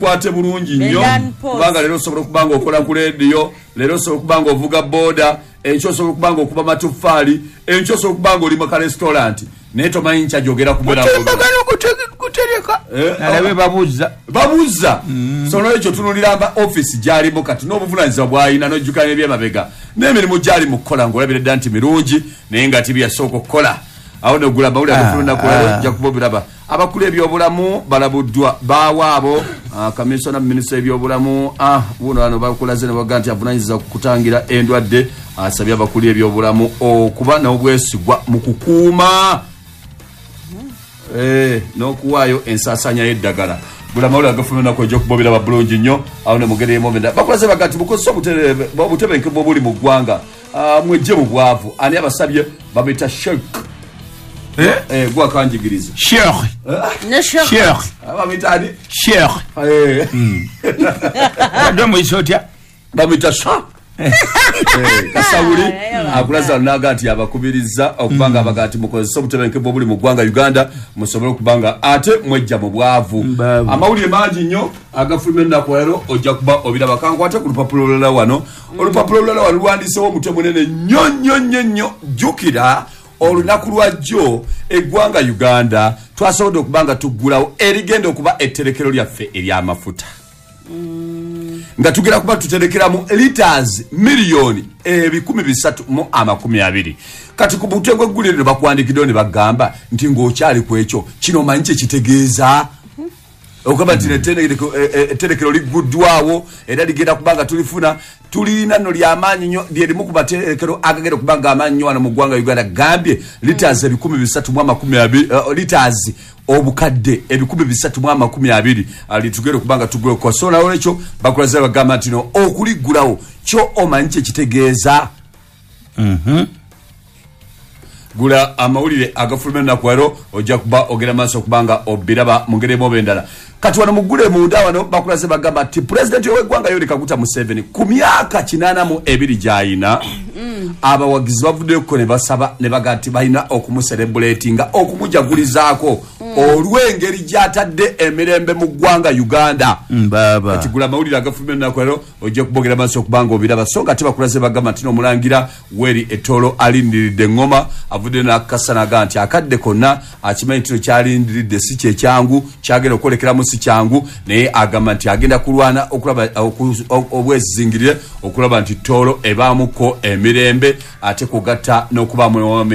Kwate bulungi nnyo, kubanga leero osobola okuba nga okola ku leediyo, leero osobola okuba nga ovuga boda, enkya osobola okuba nga okuba matoffaali, enkya osobola okuba nga oli mu karestaurant, naye tomanyi nkya gyogera kubeera. Mutimbagano gutereka nalabe babuuza. Babuuza. So nolwekyo tunulira mba offisi gyalimu kati n'obuvunanyizibwa bw'alina, n'ojjukira n'ebyemabega n'emirimu gyali mu kukola, ng'olabira dda nti mirungi, naye nga tibiyasooka okukola. Awo nogula amawulire agafuluma ennaku leero, ojja kuba obiraba. Abakulu ebyobulamu balabuddwa baawo abo, kamisona mu minisitule y'ebyobulamu, buno wano bakulaze ne baga nti avunanyizibwa ku kutangira endwadde, asabye abakulu ebyobulamu okuba n'obwesigwa mu kukuuma n'okuwaayo ensaasaanya y'eddagala. Buli amawulire agafuluma ennaku ejja okuba obiraba bulungi nnyo. Awo ne mugeri emu endala bakulaze baga nti mukozese obutebenkevu obuli mu ggwanga, mwejje mu bwavu. Ani abasabye? Bamuyita Sheikh gwakanjigiriza. Sheikh. Ne Sheikh. Sheikh. Bamuyita ani? Sheikh. Badde omuyisa otya? Bamuyita Sha Kasawuli. Akulaza naga nti abakubiriza okuba nga abaga nti mukozese obutebenkevu obuli mu ggwanga Uganda, musobole okuba nga ate mwejja mu bwavu. Mbaavu. Amawulire mangi nnyo agafuluma ennaku leero, ojja kuba obiraba. Kankwate ku lupapula olulala wano. Olupapula olulala wano luwandiisewo omutwe munene nnyo nnyo nnyo nnyo. Jjukira olunaku lwa jjo eggwanga Uganda twasobodde okuba nga tuggulawo erigenda okuba etterekero lyaffe ery'amafuta, nga tugenda kuba tuterekeramu liters 320,000,000. Kati ku mutwe gw'eggulire lino bakuwandikiddewo ne bagamba nti ng'okyali ku ekyo kino, omanyi kye kitegeeza okugamba nti etterekero ligguddwawo era ligenda kuba nga tulifuna tulina nno lyamaanyi nnyo, lyerimu ku materekero agagenda okuba nga amaanyi nnyo wano mu ggwanga Uganda. Gambye liters 320,000, liters 320,000,000 litugenda okuba nga tuguleko. So nolwekyo bakulaze bagamba nti no okuliggulawo kyo omanyi kye kitegeeza. Gula amawulire agafuluma ennaku leero, ojja kuba ogenda maaso okuba nga obiraba mu ngeri emu oba endala. Kati wano muggule munda wano bakulaze bagamba nti pulezidenti w'eggwanga Yoweri Kaguta Museveni ku myaka 82 gy'ayina, abawagizi bavuddeyoko ne basaba ne baga nti balina okumuserebuletinga, okumujagulizaako olw'engeri gy'atadde emirembe mu ggwanga Uganda. Mbaaba. Kati gula amawulire agafuluma ennaku leero, ojja kubogera maaso okuba nga obiraba. So nga ate bakulaze bagamba nti n'omulangira Weri Etolo alindiridde eŋŋoma, avudde n'akakasa n'agamba nti akadde konna akimanyi nti no kyalindiridde si kyekyangu, kyagenda okwolekeramu si kyangu, naye agamba nti agenda kulwana okulaba obwezizingirire okulaba nti Tooro ebaamuko emirembe, ate kugatta n'okubaamu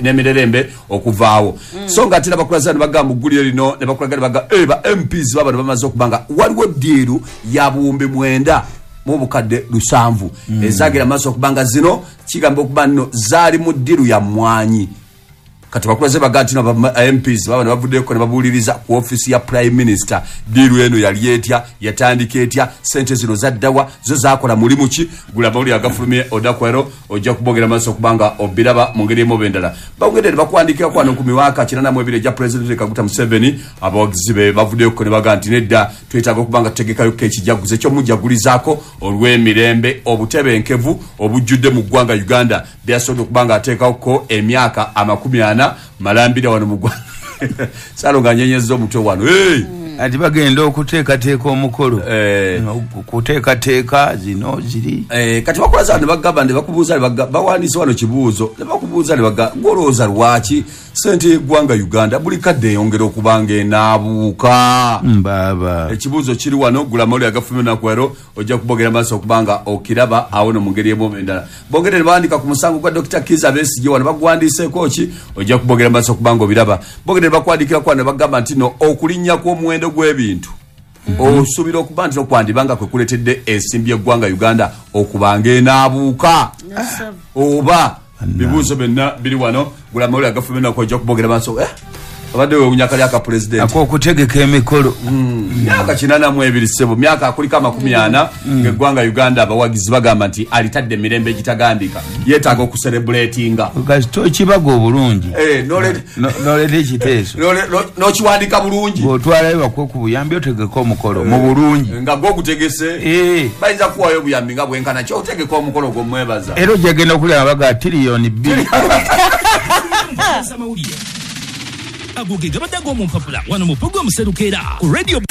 n'emirerembe okuvaawo. So nga ate nabakulaza ne bagamba mu ggulire lino ne bakulaga ne baga ba MPs babano bamaze okuba nga waliwo ddiiru ya 9,700 ezagenda maaso okuba nga zino kigamba okuba nno zaali mu ddiiru ya mmwanyi. Kati bakulaze baga nti no ba MPs babano bavuddeko ne babuuliriza ku ofiisi ya Prime Minister, ddiiru eno yali etya, yatandika etya, sente zino zaddawa, zo zakola mulimu ki? Gula amawulire agafulumye odakwero, ojja kubogera maaso okuba nga obiraba mu ngeri emu oba endala. Bawongedde ne bakuwandiikirako wano ku miwaaka 82 egya Pulezidenti Kaguta Museveni, abawagizi be bavuddeyoko ne baga nti nedda, twetaaga okuba nga tutegekayo ekijaguzo ekyomujagulizaako olw'emirembe, obutebenkevu obujjudde mu ggwanga Uganda byasobodde okuba nga ateekawoko emyaka 40 malambira wano mu ggwanga. Salo nga nyenyezza omutwe wano. Hey! Ati bagenda okuteekateeka omukolo, kuteekateeka zino ziri. Kati bakulaza ne bagamba ne bakubuuza ne bawandiise wano kibuuzo ne bakubuuza ne baga gw'olowooza lwaki sente y'eggwanga Uganda buli kadde eyongera okuba nga enaabuuka. Mbaaba. Ekibuuzo kiri wano, gula amawulire agafuluma ennaku leero, ojja kubogera maaso okuba nga okiraba awo no mu ngeri emu oba endala. Bongedde ne bawandiika ku musango gwa Dr. Kizza Besigye wano baguwandiiseeko ki, ojja kubogera maaso okuba nga obiraba. Bongedde ne bakuwandiikirako wano ne bagamba nti no okulinnya kw'omuwendo gw'ebintu osuubira okuba nti nokwandiba nga kwe kuleetedde ensimbi y'eggwanga Uganda okuba nga enaabuuka oba. Bibuuzo byonna biri wano, gula amawulire agafuluma ennaku, ojja kubogera maaso. Abadde wewunya kali aka pulezidenti ak'okutegeka emikolo. Myaka 82 ssebo, myaka akuliko 40 ng'eggwanga Uganda abawagizi bagamba nti alitadde emirembe egitagambika, yeetaaga okuserebuletinga. Kasita okibaga obulungi, n'oleeta ekiteeso, n'okiwandika bulungi, bw'otwalayo bakuwe ku buyambi otegeke omukolo mu bulungi nga gwogutegese, bayinza kuwayo obuyambi nga bwenkana ki otegeka omukolo gw'omwebaza. Era ojja genda okulya nga baga 2 biliyoni. Amawulire ago ge gabadde ag'omu mpapula wano mu pulogulaamu Serukeera ku Radio.